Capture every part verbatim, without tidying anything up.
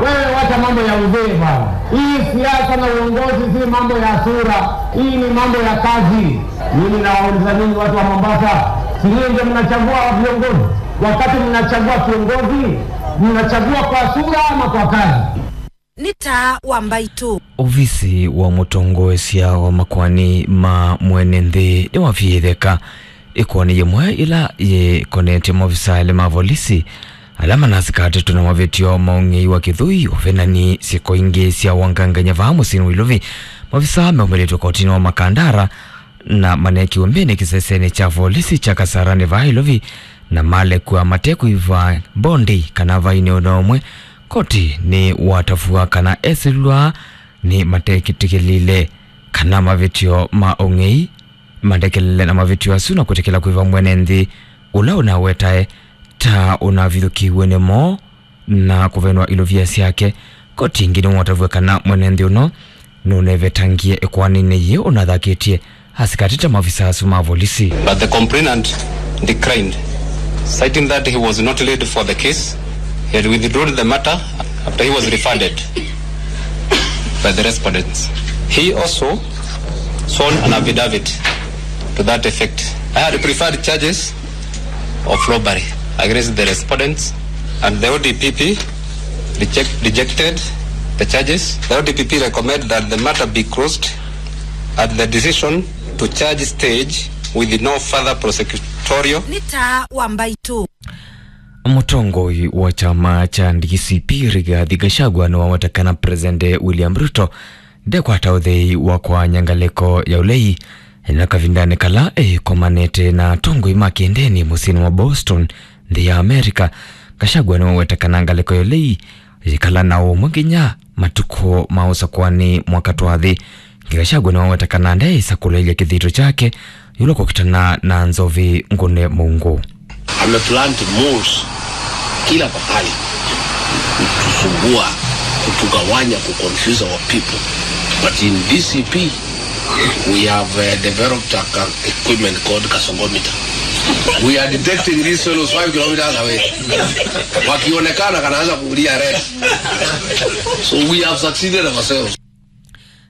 Wewe wacha mambo ya uzee bwana. Hii siasa na uongozi si mambo ya sura. Hii ni mambo ya kazi. Mimi nawauliza nyinyi watu wa Mombasa, si nyinyi ndio mnachagua viongozi? Wakati mnachagua kiongozi, mnachagua kwa sura ama kwa kazi? Nĩ Taa wa Mbaitũ. Ovisi wa mũtongoesya wa makoani ma mwene nthĩ nĩwaviĩtheka ĩkoani yĩmwe ĩla yĩkonetye maovisa elĩ ma volisi ala manasikatetwe na mavĩtyo ma ũng'ei wa kĩthũi, ũvenani, syĩko ingĩ sya ũangangany'a vaa mũsyĩnĩ wa Ilovi. Maovisa meũmĩlĩtw'e kotinĩ wa Makandara na maneekiwe mbĩnĩ kĩsesenĩ kya volisi kya Kasarani vaa Ilovi, na malekw'a mate kũiva mbondi kana vainĩ ona ũmwe. Koti nĩwatavw'a kana esĩlw'a nĩ matekĩtĩkĩlile kana mavĩtyo ma ũng'ei, matekĩlile na mavĩtyo asu na kwĩtĩkĩla kũiva mwene nthĩ ũla ũnawetae ta ũnavithũkĩiw'e nĩmo na kũvenwa ilovia syake. Koti ĩngĩ nĩwatavw'a kana mwene nthĩ ũno nũnevetangie ĩkoaninĩ yĩĩ ũnathakĩtye asikatĩte maovisa asu ma volisi. But the complainant declined, citing that he was not laid for the case. He had withdrawn the matter after he was referred by the respondents. He also sworn an affidavit to that effect. I had preferred charges of robbery against the respondents, and the O D P P reject, rejected the charges. The O D P P recommend that the matter be closed at the decision to charge stage with no further prosecutorial. Nĩ Taa wa Mbaitũ. Mũtongoi wa kyama kya D C P Rigathi Gachagua nĩwaweta kana President William Ruto ndekwata ũthei wa kũaany'a ngalĩko ya ũlei na kavindanĩ kala ĩkomanĩte na atongoi ma kĩndĩni mũsyĩnĩ wa Boston, nthĩ ya America. Gachagua nĩwaweta kana ngalĩko ya ũlei yĩkala na ũmwe nginya matukũ ma ũsakũani mwaka twathi. Gachagua nĩwaweta kana ndeĩsa kũleelya kĩthito kyake ĩũlũ kũkitana na nzovi ngũne mũungu. Ameplant moles kila pahali kutusumbua, kutugawanya, kuconfuse our people. But in D C P, we have, uh, developed a ca-, equipment called gasogometer. We are detecting these fellows five kilometers away. Wakionekana, kanaanza kulia red. So we have succeeded ourselves.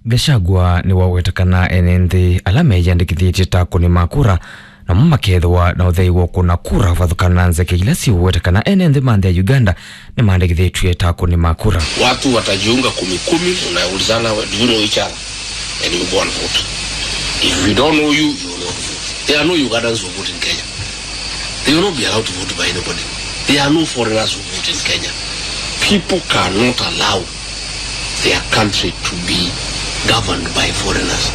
Gachagua nĩwaweta kana ene nthĩ ala meyĩandĩkĩthĩtye ta akũni ma kura namo makethĩwa na ũthei wa kũna kura kũvathũkana na nzeke ila siũweta kana ene nthĩ ma nthĩ ya Uganda nĩmaandĩkĩthĩtw'e ta akũni ma kura. Watu watajiunga kumi kumi, unaulizana, "Do you know each other?" And you go and vote. If we don't know you, you will not vote. There are no Ugandans who vote in Kenya. They will not be allowed to vote by anybody. There are no foreigners who vote in Kenya. People cannot allow their country to be governed by foreigners.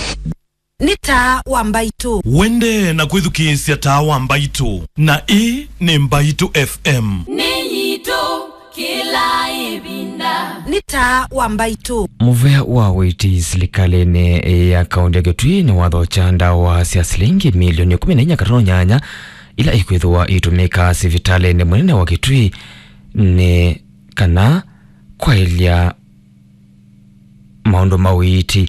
Nĩ Taa wa Mbaitũ. Wende na kwĩthukĩĩsya Taa wa Mbaitũ, na ĩĩ nĩ Mbaitũ F M. Nĩ yitũ kĩla ĩvinda. Nĩ Taa wa Mbaitũ. Mũvea wa ũiiti silikalĩnĩ ya kaũntĩ ya Kitui nĩwathokya ndawa sya silingi milioni ĩkũmi na inya katono nyanya ila ikwĩthĩwa itũmĩka sivitalĩnĩ mũnene wa Kitui nĩ kana kwaĩlya maũndũ ma ũiiti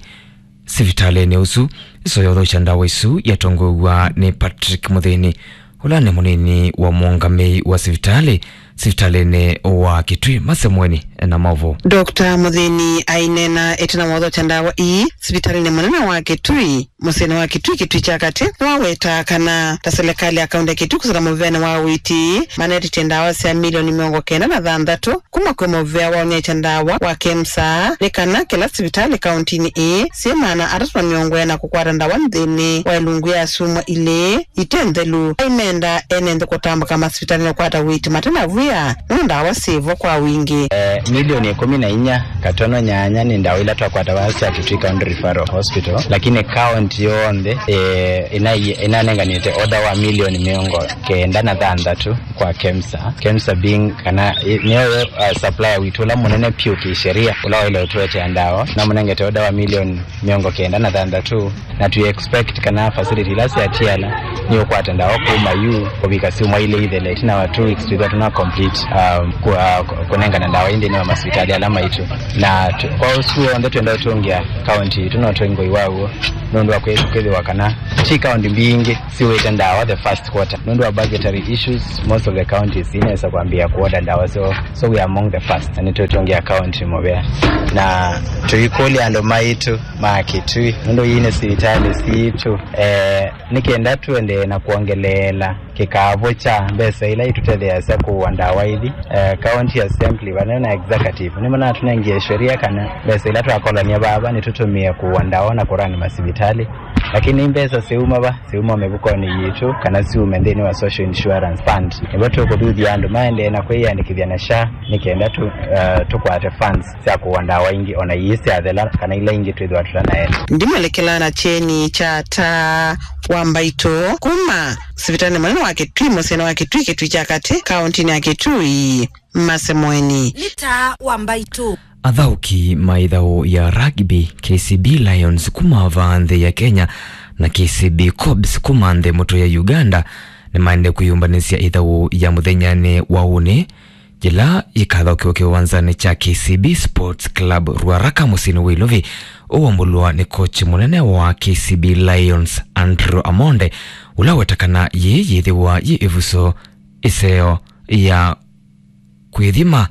sivitalĩnĩ ũsu. Ĩsoya ũthokya ndawa isu yatongoew'a nĩ Patrick Mũthĩni, ũla nĩ mũnini wa mũũngamĩi wa sivitalĩ sivitalĩnĩ wa Kitui. Masemweni na maũvoo. Doctor Mũthĩni aineena ĩtina wa ũthokya ndawa ii sivitalĩnĩ mũnene wa Kitui, mũsyĩnĩ wa Kitui, Kitui kya katĩ, nĩwawetaa kana ta silikalĩ ya kaũntĩ ya Kitui kũsila mũvĩanĩ wa ũiiti, manetĩtye ndawa sya milioni mĩongo kenda na thanthatũ kuma kwĩ mũvĩa wa ũnyaĩĩkya ndawa wa KEMSA, nĩ kana kĩla sivitalĩ kaũntĩnĩ ĩĩ syĩ maana atatũ na mĩongo ĩna kũkwata ndawa nthĩnĩ wa ĩlungu ya syumwa ilĩ ite nthelu. Aimenda ene nthĩ kũtambũka masivitalĩnĩ kũkwata ũiiti mate na wia nũndũ ndawa syĩvo kwa wingĩ. Eh, milioni ĩkũmi na inya katono nyanya nĩ ndawa ila twakwata vaa sya Kitui County Referral Hospital, lakini county yonthe, eh, ĩna-, ĩnanenganĩte order wa milioni mĩongo kenda na thanthatũ kwa KEMSA. KEMSA being kana, eh, nĩyo, uh, supplier witũ ũla mũnene vyũ kĩsheria, ũla waĩle ũtũetea ndawa, namũnengete order wa milioni mĩongo kenda na thanthatũ, na tũ expect kana facility ila syatiana nĩ ũkwata ndawa kuma yu kũvika syumwa ilĩ ithele, ĩtina wa two weeks twĩthwa tũna complete, um, ku-, uh, kũnengana ndawa ĩ nthĩnĩ wa masivitalĩ ala maitũ. Na tũ-, kwa ũsu w'onthe twenda ũtũngĩa county itũ no twĩ ngoi wa w'o. nũndũ wa kwĩ-, kwĩthĩwa kana ti kaunti mbingĩ siwĩte ndawa the first quarter. Nũndũ wa budgetary issues, most of the counties inesa kwambĩĩa kuorder ndawa, so, so we are among the first, na nĩtũtũngĩa county mũvea. Na tũikũlya andũ maitũ ma Kitui, nũndũ ii nĩ sivitalĩ sitũ, eh, nĩ kenda tũendee na kuongeleela kĩkavũ kya mbesa ila itũtetheeasya kũua ndawa ithi. Eh, county assembly vamwe na executive nĩmanatũnengie sheria kana mbesa ila twakolany'a vava nĩtũtũmĩe kũua ndawa na kũrani masivitalĩ, lakini mbesa siuma va? Siuma mĩvukonĩ yitũ kana siume nthĩnĩ wa social insurance fund. Nĩvo tũkũthuthya andũ maendee na kwĩyĩandĩkĩthya na SHA nĩ kenda tũ-, eh, tũkwate funds sya kũua ndawa ingĩ, ona ii syathela kana ila ingĩ twĩthĩwa tũtanaete. Ndimwelekela na kyeni kya taa wa mbaitũ kuma sivitalĩ mũnene wa Kitui, mũsyĩnĩ wa Kitui, Kitui kya katĩ, kaũntĩnĩ ya Kitui, Masemweni. Nĩ taa wa mbaitũ. Athaũki ma ĩthaũ ya rugby, K C B Lions, kuma vaa nthĩ ya Kenya na K C B Cobs kuma nthĩ mũtwe ya Uganda nĩmaendee kwĩyũmbanĩsya ĩthaũ ya mũthenyanĩ wa ũnĩ, yĩla yĩkathaũkĩwa kĩwanzanĩ kya K C B Sports Club Ruaraka mũsyĩnĩ wa Ilovi, ũwambũlwa nĩ kochi mũnene wa K C B Lions, Andrew Amonde, ũla weta kana yĩĩ yĩthĩwa yĩ ĩvuso ĩseo ya kwĩthima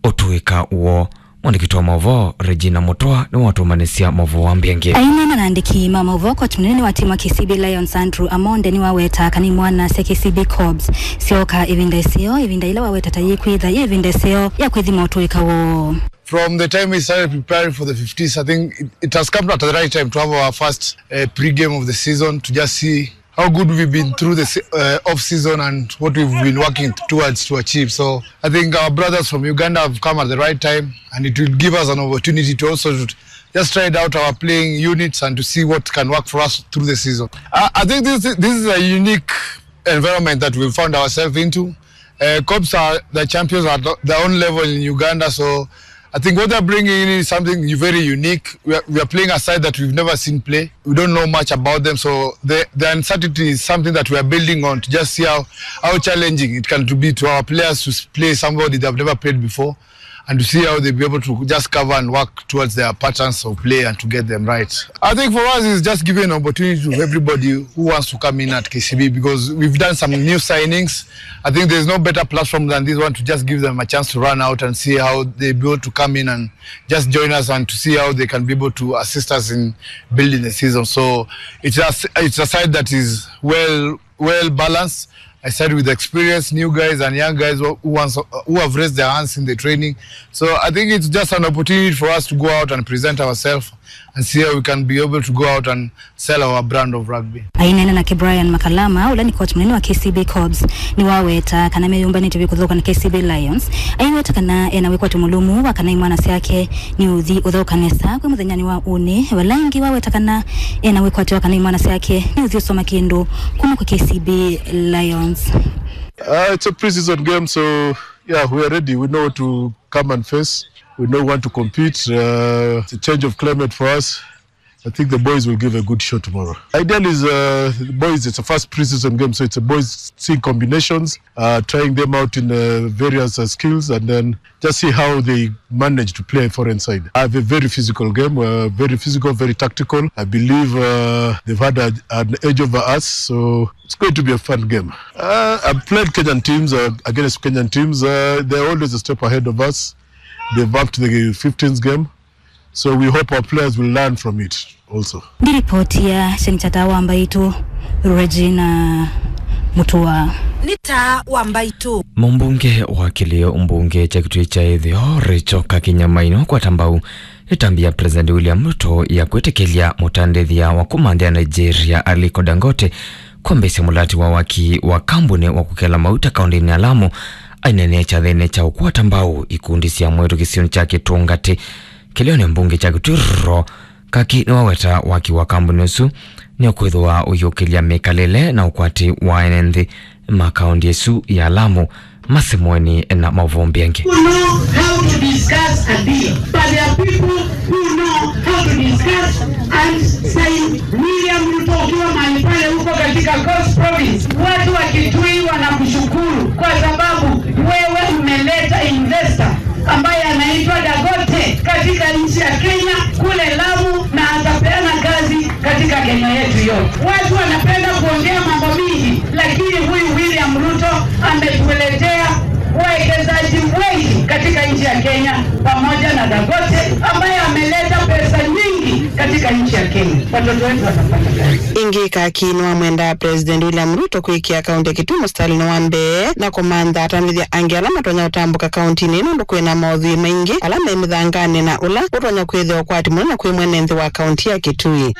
ũtũĩka woo. Mwandĩki wa maũvoo Regina Mũtwa nĩwatũmanĩsya maũvoo wa mbingĩ. Aineena na andĩki ma maũvoo, kochi mũnene wa timu wa K C B Lions, Andrew Amonde, nĩwaweta kana imwana sya K C B Cobs syooka ĩvinda ĩseo, ĩvinda ĩla waweta ta yĩkwĩtha yĩ ĩvinda ĩseo ya kwĩthima ũtũĩka woo. From the time we started preparing for the fifteens, I think it, it has come at the right time to have our first, uh, pre-game of the season to just see how good we've been through the se-, uh, off season and what we've been working towards to achieve. So I think our brothers from Uganda have come at the right time, and it will give us an opportunity to also to just try out our playing units and to see what can work for us through the season. I, I think this, this is a unique environment that we found ourselves into. Uh, Cobs are the champions at their own level in Uganda, so I think what they're bringing in is something very unique. We are, we are playing a side that we've never seen play. We don't know much about them, so the, the uncertainty is something that we are building on to just see how, how challenging it can to be to our players to s-, play somebody they've never played before, and to see how they'll be able to just cover and work towards their patterns of play and to get them right. I think for us, it's just giving an opportunity to everybody who wants to come in at K C B, because we've done some new signings. I think there's no better platform than this one to just give them a chance to run out and see how they be able to come in and just join us and to see how they can be able to assist us in building the season. So it's a, it's a side that is well, well balanced. I said with experience, new guys and young guys who, who wants, who have raised their hands in the training. So I think it's just an opportunity for us to go out and present ourselves and see how we can be able to go out and sell our brand of rugby. Aineena nake Brian Makalama, ũla nĩ coach mũnene wa K C B Cobs, nĩwaweta kana meyũmbanĩtye vyũ kũthũka na K C B Lions. Aiweta kana ena wĩkwatyo mũlũmu wa kana imwana syake nĩ ũthi ũthaũka nesa kwĩ mũthenyanĩ wa ũnĩ, vala ĩngĩ waweta kana ena wĩkwatyo wa kana imwana syake nĩ ũthi ũsoma kĩndũ kuma kwa K C B Lions. Uh, it's a pre-season game, so yeah, we are ready. We know what to come and face. We know we want to compete. Uh, it's a change of climate for us. I think the boys will give a good show tomorrow. Ideal is, uh, the boys, it's a first pre-season game, so it's a boys seeing combinations, uh, trying them out in, uh, various, uh, skills, and then just see how they manage to play foreign side. I have a very physical game, uh, very physical, very tactical. I believe, uh, they've had a, an edge over us, so it's going to be a fun game. Uh, I've played Kenyan teams, uh, against Kenyan teams. Uh, they're always a step ahead of us. They've upped the fifteens game. So we hope our players will learn from it also. Ndĩ ripoti ya kyeni kya taa wa mbaitũ, Regina Mutua. Nĩ taa wa mbaitũ. Mũmbunge wa kĩlĩo mbunge kya Kitui kya Ĩtheo, Rachel Kakinya Maina, kwata mbau ĩtambya ya President William Ruto ya kwĩtĩkĩlya mũtandĩthya wa kuma nthĩ ya Nigeria, Aliko Dangote, kwambĩĩsya mũlati wa waki wa kambuni wa kũkela mauta kaũntĩnĩ ya Lamu, aineena kyathĩnĩ kya ũkwata mbau ikundi sya mwĩĩtu kĩsionĩ kya Kĩtũngatĩ. Kĩlĩonĩ mbunge kya Kitui, Kaki nĩwaweta waki wa kambuni ũsu nĩũkwĩthĩwa ũyũkĩlya mĩkalĩle na ũkwati wa ene nthĩ ma kaũntĩ ĩsu ya Lamu. Masemweni na maũvoo mbingĩ. Who know how to discuss a deal, but there are people who know how to discuss and say, William Ruto, ukiwa mahali pale huko katika Coast Province, watu wa Kitui wanakushukuru kwa sababu wewe umeleta investor ambaye anaitwa Dangote katika nchi ya Kenya kule Lamu, na atapeana kazi katika Kenya yetu yote. Watu wanapenda kuongea mambo mingi, lakini huyu William Ruto ametuletea wawekezaji wengi katika nchi ya Kenya, pamoja na Dangote ambaye ameleta pesa nyingi katika nchi ya Kenya. Watoto wetu watapata kazi. Ĩngĩ, Kaki nĩwamwendaa President William Ruto kwĩkĩa kaunti ya Kitui mũsitalĩnĩ wa mbee na kũmantha atandĩthya angĩ ala matonya ũtambũka kauntinĩ ĩno, nũndũ kwĩna maũthwii maingĩ ala me mĩthanganĩ na ũla ũtonya kwĩthĩwa ũkwati mũnene kwĩ mwene nthĩ wa kaunti ya Kitui.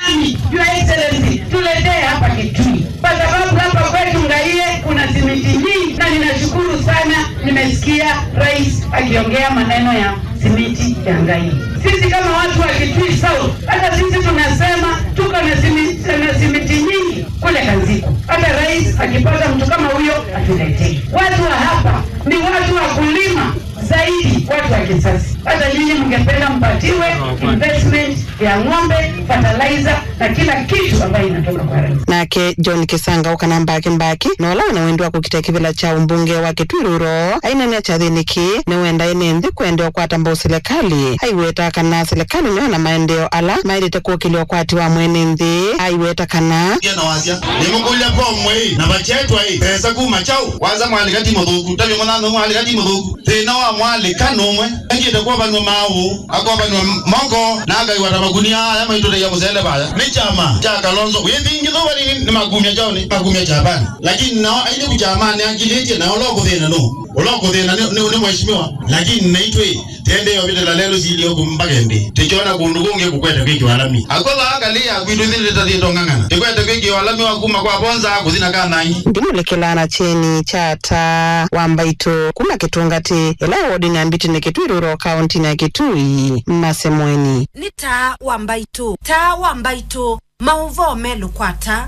Your Excellency, tuletee hapa Kitui, kwa sababu hapa kwetu Ngaie kuna simiti nyingi, na ninashukuru sana, nimesikia rais akiongea maneno ya simiti ya Ngaie. Sisi kama watu wa Kitui South, hata sisi tunasema tuko na simiti, na simiti nyingi kule Kanziku. Hata rais akipata mtu kama huyo atuletee. Watu wa hapa ni watu wa kulima zaidi, watu wa kisasi. Hata nyinyi mngependa mpatiwe investment ya ng'ombe, fertilizer na kila kitu ambayo inatoka kwa rais. Nake John Kisanga, ũkana Mbaki Mbaki, na ũla wĩna wendi wa kũkita kĩvĩla kya ũmbunge wa Kitui Rural, aineenea kyathĩnĩ kĩĩ nĩwenda ene nthĩ kũendeea kũkwata mbau silikalĩ. Aiweta kana silikalĩ nĩyo na maendeeo ala maĩlĩte kũkĩlya ũkwati wa mwene nthĩ. Aiweta kana Ndio na wasia. Nimekuja kwa mwei na bachetwa hii pesa kuma chau. Waza mwali kati muthuku, tabi mwana no mwali kati muthuku. Thĩna wa mwalĩka nũmwe, engĩte kũvanw'a maaũ, akũvanw'a moko, na akaiwa ta makunia aya maitũtethya mũsele vaya. Nĩ kyama kya Kalonzo. Wĩthingithũ vali nĩ makumya kyaũ nĩ makumya Japan. Lakini nao ailĩku kyamanĩ akilĩtye, na ũla ũkũthĩna nũ? Ũla ũkũthĩna nĩ, nĩ, nĩ mheshimiwa. Lakini naitwĩ, tendee ovitĩla lelũ silio kũmbake nthĩ. Tĩkyona kũndũ kũngĩ kũkwete kwĩkĩwa lami. Akwetha akali ya kwitũ nthĩ tĩtathiĩtwe ng'ang'ana. Tĩkwete kwĩkĩwa lami wa kuma kwa Bonza kũthi na Kanangi. Ndimũlĩkĩlaa na kyeni kya Taa wa Mbaitũ kuma Kĩtũngatĩ, ĩla wodinĩ ya Mbitini Kitui Rural, kauntinĩ ya Kitui, Masemweni. Nĩ Taa wa Mbaitũ, Taa wa Mbaitũ, maũvoo melũ kwa Taa.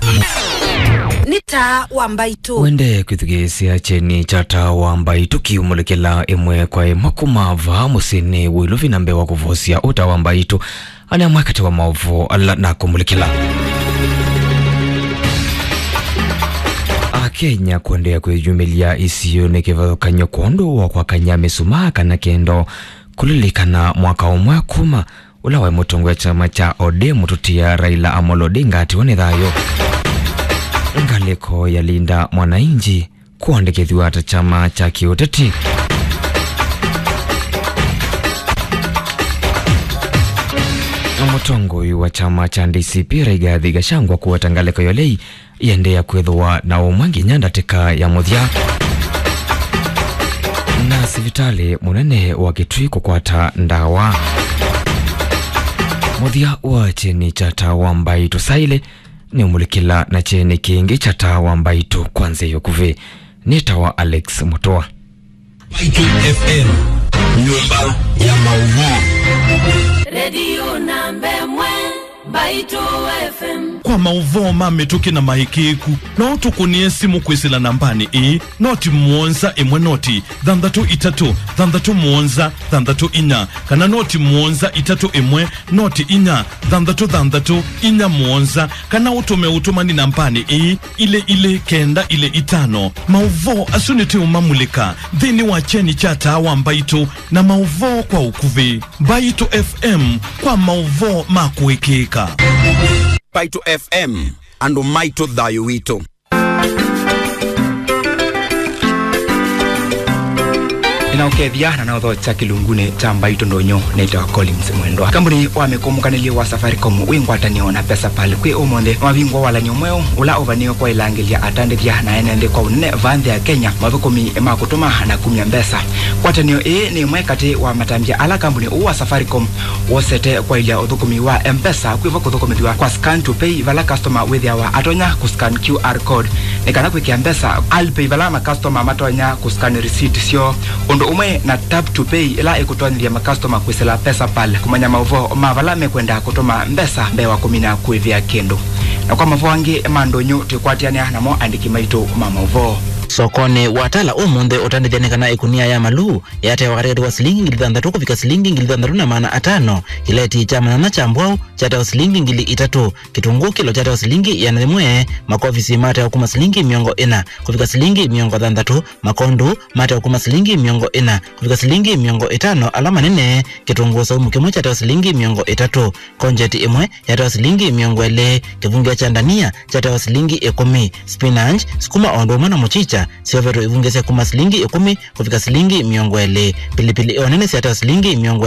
Nĩ Taa wa Mbaitũ. Wende kwĩthukĩĩsya kyeni kya Taa wa Mbaitũ kiumũlĩkĩla ĩmwe kwa ĩmwe kuma vaa mũsyĩnĩ wĩ Ilovi na mbee wa kũvosya ũ Taa wa Mbaitũ. Aya nĩ amwe katĩ wa maũvoo ala nakũmũlĩkĩla. Akenya kũendeea kwĩyumĩlya isionĩ kĩvathũkany'o kwondũ wa kwakany'a mĩsumaa kana kĩndo kũlilikana mwaka ũmwe kuma ũla waĩ mũtongoi wa kyama kya O D M mũtũtia Raila Amolo Odinga atiwa nĩ thayũ. Ngalĩko ya Linda Mwananchi kũandĩkĩthw'a ta kyama kya kĩũteti. Na mũtongoi wa kyama kya D C P Rigathi Gachagua kũweta ngalĩko ya ũlei ĩendeea kwĩthĩwa na ũmwe nginya ndatĩka ya mũthya. Na sivitalĩ mũnene wa Kitui kũkwata ndawa. Mũthya wa kyeni kya Taa wa Mbaitũ saa ilĩ nĩũmũlĩkĩla na kyeni kĩngĩ kya Taa wa Mbaitũ kwa nzĩa ya ũkuvĩ. Nĩtawa Alex Mũtũa. Mbaitũ F M, nyũmba ya maũvoo. Redio namba ĩmwe, Mbaitũ F M. Kwa maũvoo ma mĩtũkĩ na maĩkĩĩku, no ũtũkũnĩe simũ kwĩsĩla nambanĩ ĩĩ, noti mũonza ĩmwe noti thanthatũ itatũ thanthatũ mũonza thanthatũ inya, kana noti mũonza itatũ ĩmwe noti inya thanthatũ thanthatũ inya mũonza, kana ũtũme ũtũmani nambanĩ ĩĩ, ilĩ ilĩ kenda ilĩ itano. Maũvoo asu nĩtũũmamulĩka nthĩnĩ wa kyeni kya Taa wa Mbaitũ na maũvoo kwa ũkuvĩ. Mbaitũ F M, kwa maũvoo ma kũĩkĩĩka. Mbaitũ F M, andũ maitũ, thayũ witũ. Nĩnaũkethya na naũthokya kĩlungunĩ kya Mbaitũ Ndũnyũ. Nĩtawa Collins Mwendwa. Kambuni wa mĩkũmũkanĩlyo wa Safaricom wĩ ngwatanĩo na PesaPal kwĩ ũmũnthĩ nĩwavingũa walan'yo mweũ ũla ũvanĩĩwe kwaĩlangĩlya atandĩthya na ene nthĩ kwa ũnene vaa nthĩ ya Kenya mathũkũmi ma kũtũma na kumya mbesa. Ngwatanĩo ĩĩ nĩ ĩmwe katĩ wa matambya ala kambuni ũũ wa Safaricom wosete kwaĩlya ũthũkũmi wa M-Pesa, kwĩvo kũthũkũmĩthw'a kwa scan to pay, vala customer wĩthĩawa atonya kũ scan Q R code nĩ kana kwĩkĩa mbesa Alipay, vala ma customer matonya kũ scan receipt syoo, ũndũ ũmwe na tap to pay, ĩla ĩkũtonyethya ma customer kwĩsĩla PesaPal kũmanya maũvoo ma vala mekwenda kũtũma mbesa mbee wa kũmina kũĩvĩa kĩndũ. Na kwa maũvoo angĩ ma ndũnyũ, twĩkwatĩanĩa namo andĩki maitũ ma maũvoo. Sokonĩ wa Tala ũmũnthĩ, ũtandĩthya nĩ kana ĩkunia ya maluu yatewa katĩkatĩ wa silingi ngili thanthatũ kũvika silingi ngili thanthatũ na maana atano, kĩleti kya manyanya kya mbwaũ kyatewa silingi ngili itatũ, kĩtunguu kĩlo kyatewa silingi ĩana yĩmwe, makovisi matewa kuma silingi mĩongo ĩna kũvika silingi mĩongo thanthatũ, makondu matewa kuma silingi mĩongo ĩna kũvika silingi mĩongo ĩtano ala manene, kĩtunguu saumu kĩmwe kyatewa silingi mĩongo ĩtatũ, konjeti ĩmwe yatewa silingi mĩongo ĩlĩ, kĩvungĩa kya ndania kyatewa silingi ĩkũmi, spinach, sukuma o ũndũ ũmwe na mũchicha syovetwe ivungĩa sya kuma silingi ĩkũmi kũvika silingi mĩongo ĩlĩ, pilipili ĩo nene syatewa silingi mĩongo